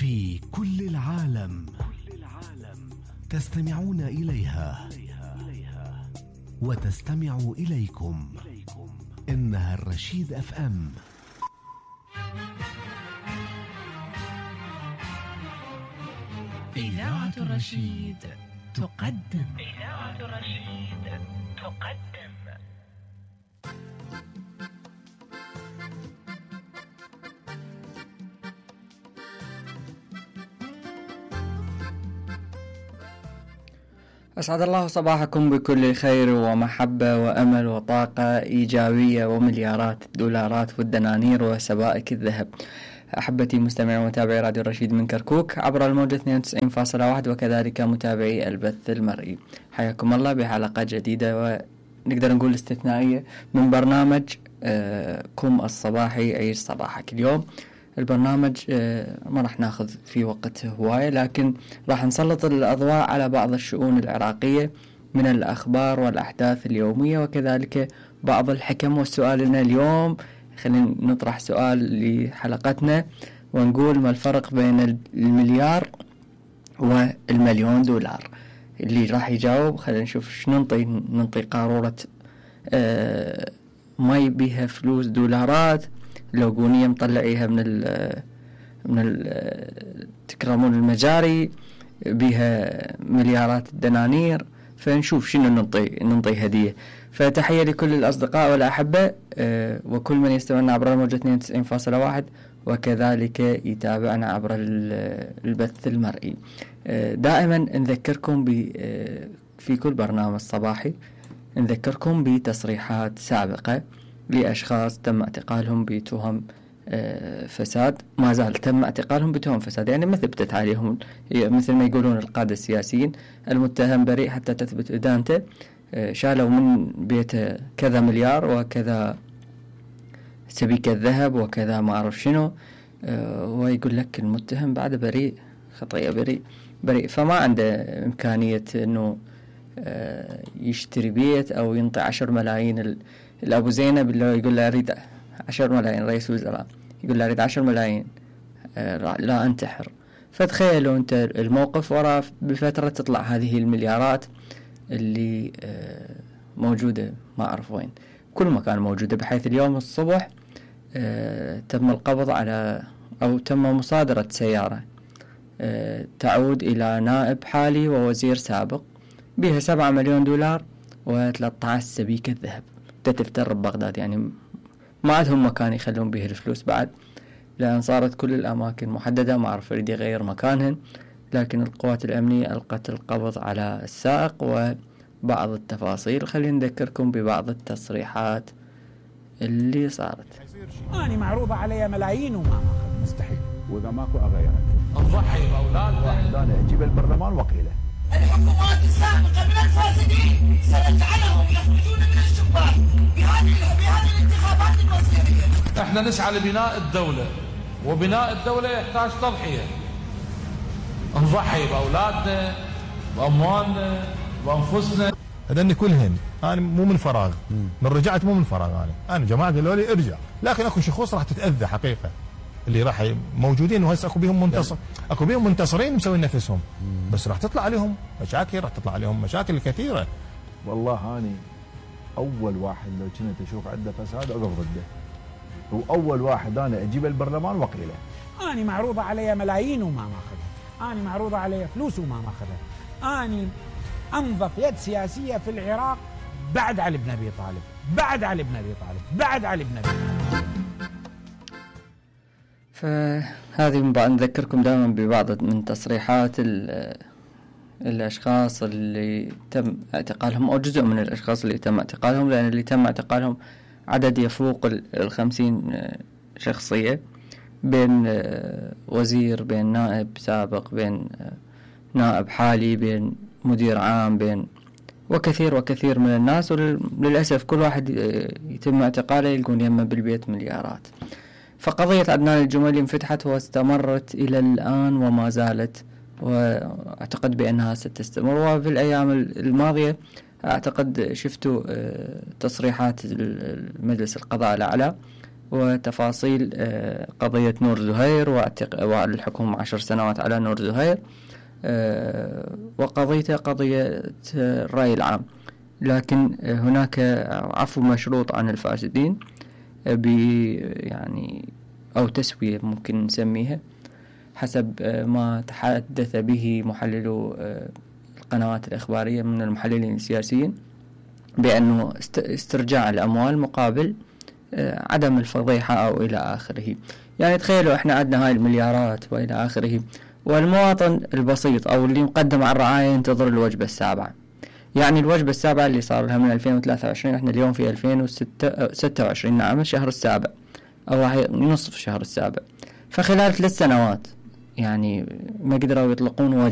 في كل العالم تستمعون إليها وتستمع إليكم. إنها الرشيد اف ام. إذاعة الرشيد تقدم. أسعد الله صباحكم بكل خير ومحبة وأمل وطاقة إيجابية ومليارات الدولارات والدنانير وسبائك الذهب. أحبتي مستمعي ومتابعي راديو الرشيد من كركوك عبر الموجة 92.1 وكذلك متابعي البث المرئي، حياكم الله بحلقة جديدة ونقدر نقول استثنائية من برنامج كم الصباحي عيش صباحك. اليوم البرنامج ما راح ناخذ في وقت هواية، لكن راح نسلط الأضواء على بعض الشؤون العراقية من الأخبار والأحداث اليومية وكذلك بعض الحكم. والسؤالنا اليوم خلينا نطرح سؤال لحلقتنا ونقول: ما الفرق بين المليار والمليون دولار؟ اللي راح يجاوب خلينا نشوف شنو ننطي قارورة مي بيها فلوس دولارات، لوجونية مطلعيها من تكرمون المجاري بها مليارات الدنانير، فنشوف شنو ننطي هدية. فتحية لكل الأصدقاء والأحبة وكل من يستمعنا عبر الموجة 92.1 وكذلك يتابعنا عبر البث المرئي. دائما نذكركم في كل برنامج صباحي نذكركم بتصريحات سابقة لأشخاص تم اعتقالهم بتهم فساد، ما زال تم اعتقالهم بتهم فساد، يعني ما ثبتت عليهم، مثل ما يقولون القادة السياسيين: المتهم بريء حتى تثبت إدانته. شالوا من بيته كذا مليار وكذا سبيكة ذهب وكذا ما أعرف شنو، ويقول لك المتهم بعد بريء، خطيئة بريء، فما عنده إمكانية أنه يشتري بيت أو ينطي 10 ملايين. الأبو زينب اللي يقول له أريد 10 ملايين، رئيس وزراء يقول له أريد 10 ملايين لا أنتحر. فتخيلوا أنت الموقف، وراء بفترة تطلع هذه المليارات اللي موجودة ما أعرف وين، كل مكان موجودة، بحيث اليوم الصبح تم القبض على أو تم مصادرة سيارة تعود إلى نائب حالي ووزير سابق بها 7 مليون دولار و13 سبيكة ذهب تفتر ببغداد. يعني ما عندهم مكان يخلون به الفلوس بعد، لأن صارت كل الأماكن محددة، ما أعرف يريد يغير مكانهن. لكن القوات الأمنية ألقت القبض على السائق وبعض التفاصيل. خلينا نذكركم ببعض التصريحات اللي صارت. أنا معروضة علي ملايين وما أخذ، مستحيل. وإذا ماكو أغيرك نضحي بأولادنا. واحد أنا أجيب البرلمان وقيله. الحكومات السابقة من الفاسدين سنجعلهم يخرجون من الشباك بهذه الانتخابات المصيرية. احنا نسعى لبناء الدولة، وبناء الدولة يحتاج تضحية. نضحي بأولادنا بأموالنا بأنفسنا. هذني كلهن أنا مو من فراغ، من رجعت مو من فراغ. أنا جماعة قالوا لي ارجع، لكن أكو شخوص راح تتأذى حقيقة، اللي راح موجودين وهسه اكو بيهم منتصر، اكو بيهم منتصرين مسوين نفسهم، بس راح تطلع عليهم مشاكل، راح تطلع عليهم مشاكل كثيره. والله اني اول واحد لو كنت اشوف عنده فساد اقف ضده، واول واحد انا اجيب البرلمان وقيله. أنا معروضة علي ملايين وما أخذها، أنا معروضة علي فلوس وما أخذها. أنا أنظف يد سياسية في العراق بعد علي بن أبي طالب، بعد علي بن أبي طالب، بعد علي بن أبي طالب. فهذه نذكركم دائما ببعض من تصريحات الأشخاص اللي تم اعتقالهم، أو جزء من الأشخاص اللي تم اعتقالهم، لأن اللي تم اعتقالهم عدد يفوق 50 شخصية، بين وزير، بين نائب سابق، بين نائب حالي، بين مدير عام، بين وكثير من الناس. وللأسف كل واحد يتم اعتقاله يلقون يمه بالبيت مليارات. فقضية عدنان الجميلي انفتحت واستمرت إلى الآن وما زالت، وأعتقد بأنها ستستمر. وفي الأيام الماضية أعتقد شفتوا تصريحات المجلس القضاء الأعلى وتفاصيل قضية نور زهير والحكم 10 سنوات على نور زهير، وقضيته قضية الرأي العام. لكن هناك عفو مشروط عن الفاسدين يعني أو تسوية ممكن نسميها حسب ما تحدث به محللو القنوات الإخبارية من المحللين السياسيين، بأنه استرجاع الأموال مقابل عدم الفضيحة أو إلى آخره. يعني تخيلوا إحنا عندنا هاي المليارات وإلى آخره، والمواطن البسيط أو اللي مقدم على الرعاية ينتظر الوجبة السابعة. يعني الوجبة السابعة اللي صار لها من 2023، إحنا اليوم في 2026، نعم الشهر السابع أو نصف الشهر السابع، فخلال 3 سنوات يعني ما قدروا يطلقون وجبة.